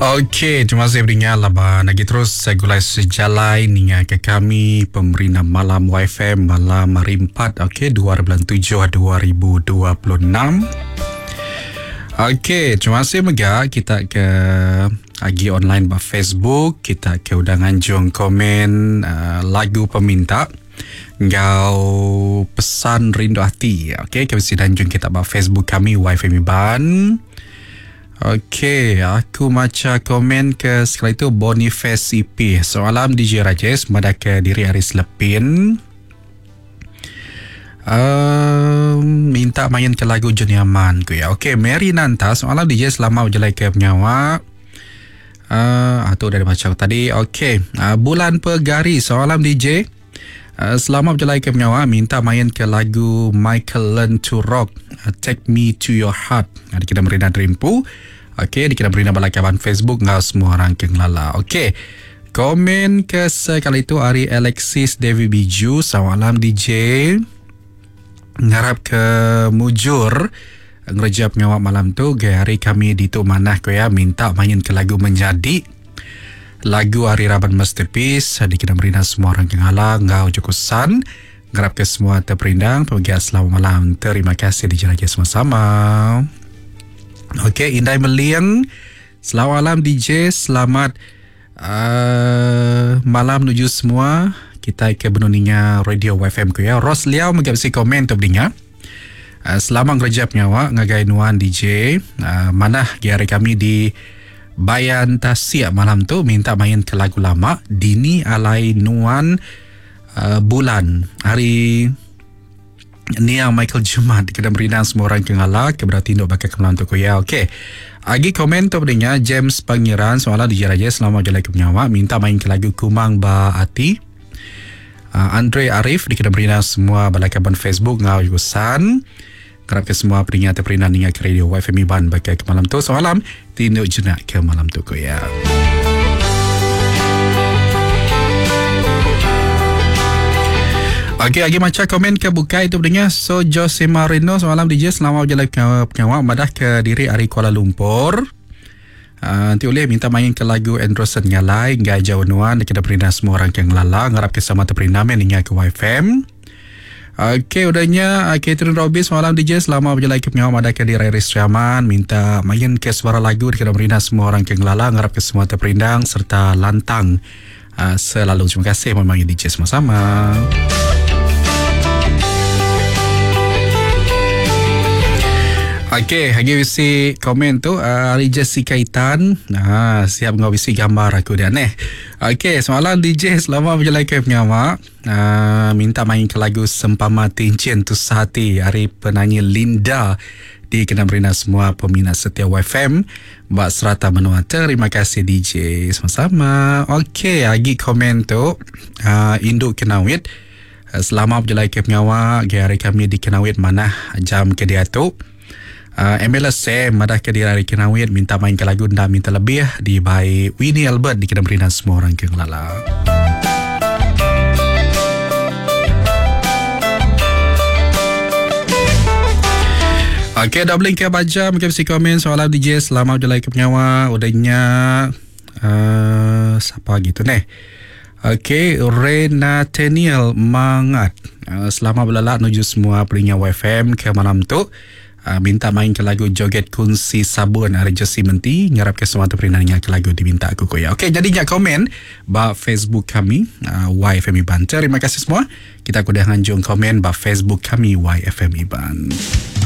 Okey, terima kasih beringat laban lagi terus segulai sejalai ninga ke kami pemerina malam YFM malam hari 4 okey 2 bulan 7 2026. Okey, terima kasih mega kita ke agi online ba Facebook, kita ke udah nganjung komen uh, lagu peminta enggau pesan rindu ati. Okey, kami sedang kita ba Facebook kami YFM Iban. Ok, aku macha komen ke sekali tu Boniface EP. Soalam DJ Rajesh madah ke diri ari Selepin. Um, minta main ke lagu Johnny Aman ku ya. Ok, Mary Nanta, soalam DJ selama berjalai ke pengawa. Uh, tu dah dibaca tadi. Ok, uh, Bulan Pegari, soalam DJ. Uh, selamat berjalai ke pengawa minta main ke lagu Michael Learn to Rock uh, Take Me to Your Heart. Uh, dikena merina derimpu. Okey, dikena merina bala kaban Facebook enggau semua orang ke ngelala. Okey. Komen ke sekali tu ari Alexis David Biju. Selamat malam DJ. Ngarap ke mujur ngereja pengawa malam tu. Gaya hari kami ditu manah ko ya minta main ke lagu menjadi. Lagu ari raban Masterpiece dikena merina semua orang ke ngala enggau Joko San. Ngarapka semua teperindang pemegai selamat malam. Terima kasih dijeraja sama-sama. Okey, Indai Meling. Selamat malam DJ, selamat uh, malam menuju semua. Kita ke benung ninga radio YFM ku ya. Ros Liau mega bisi komen tu beringa. Uh, selamat ngereja pengawa ngagai nuan DJ. Uh, manah gi hari kami di Bayan Tasik malam tu minta main ke lagu lama Dini Alai Nuan uh, Bulan hari Niang Michael Jumat kena merindang semua orang ke ngala ke berati induk baka ke malam tu ku ya. Okey. Agi komen tu beringa James Pangeran soalan DJ Raja selamat jalai ke pengawa minta main ke lagu Kumang Ba Ati. Uh, Andre Arif dikena berina semua bala kaban Facebook ngau Yusan. Kerap ke semua peringat terperina ninga ke radio YFM Iban bagai ke malam tu. Semalam tinduk jenak ke malam tu ko ya. Okey, lagi macam komen ke bukai tu pendengar. So, Jose Marino semalam DJ selamat berjalan ke pengawal madah ke diri hari Kuala Lumpur. Uh, nanti boleh minta main ke lagu Anderson Ngalai Ngai Jauh Nuan Kita perintah semua orang ke ngelala Ngarap ke sama terperintah Men Ingat ke YFM Okey, udahnya uh, Catherine Robis malam DJ selama berjalan ke pengawal Madaka di Raya Sriaman minta main ke suara lagu di Kedai Merina semua orang ke ngelala ngarap ke semua terperindang serta lantang uh, selalu. Terima kasih memanggil DJ sama-sama. Okey, agi bisi komen tu uh, ari Jessica Itan. Ha, siap ngau bisi gambar aku dia neh. Okey, semalam DJ selama berjalan ke pengawa, uh, minta main ke lagu Sempama Tincin Tu Sehati ari penyanyi Linda di kena berina semua peminat setia YFM buat serata menua. Terima kasih DJ sama-sama. Okey, agi komen tu uh, Induk Kenawit. Selama berjalai ke pengawa gaya hari kami di Kenawit manah jam ke diatu. Uh, Emila Sam madah ke diri hari Kenawit minta main ke lagu enda minta lebih di by Winnie Albert di kena berinan semua orang ke ngelala. Okey, dah beli ke baca mungkin mesti komen soalan DJ selamat berjalai ke pengawa udahnya uh, siapa gitu neh. Okey, Renataniel Mangat. Uh, selamat berlalak menuju semua pelinga YFM ke malam tu. Uh, minta main ke lagu Joget Kunsi Sabun hari Jesi Menti. Ngarap ke semua terperina dengan ke lagu diminta aku ko ya. Okey, jadi jangan komen ba Facebook kami uh, YFM Iban. Terima kasih semua. Kita kudah nganjung komen ba Facebook kami YFM Iban.